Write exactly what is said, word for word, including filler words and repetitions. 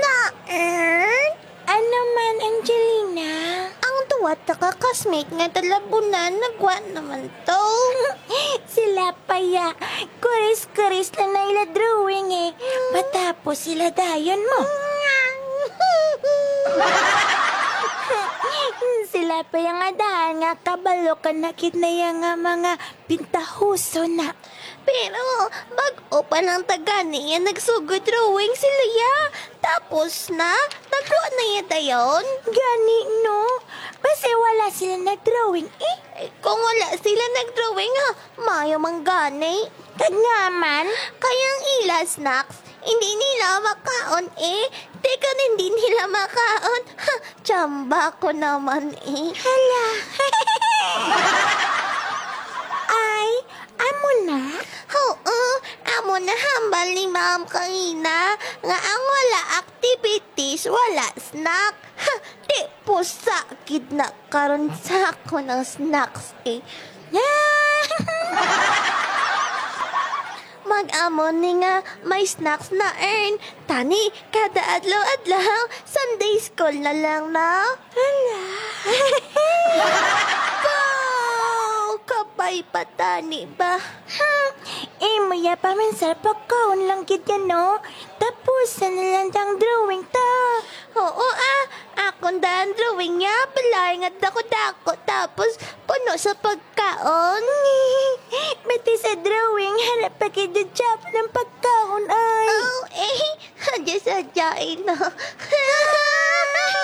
Na-earn? Ano man, Angelina? Ang duwa ta ka classmate nga talabunan, nagwa naman to. Sila pa ya. Kuris-kuris lang na ila drawing eh. Matapos sila dayon mo. Sila pa ya nga daan nga kabalo ka na gid na ya nga mga pintahuso na. Pero bag-o pa lang ta gani ya nagsugod drawing sila ya. Tapos na, nagwa na ya dayon. Gani, no? Basi wala sila nag-drawing eh. Eh, kung wala sila nag-drawing, ha, mayo man gani. Kag nga man? Kay ang ila snacks, hindi nila makaon eh. Di kon hindi nila makaon, ha, tsamba ko naman eh. Hala. Ay, amo na? Oo, amo na hambal ni ma'am kanina nga ang wala activities, wala snack. Ha, di pusa gid na karon sa ako ng snacks eh. Mag-amo ni nga may snacks na earn. Tani, kada adlaw-adlaw, Sunday school na lang, no? Hala. Wow! Kabay pa tani ba? Hmm, imo ya pa man sa pagkaon lang gid yan, no? Tapusan na lang ang drawing ta. Oo, ah. Akon daan drawing niya, balay nga dako-dako, tapos puno sa pagkaon. Pati sa drawing, hanap pa kay Dudjap ng pagkaon, ay. Oh, eh, sadya-sadyain na.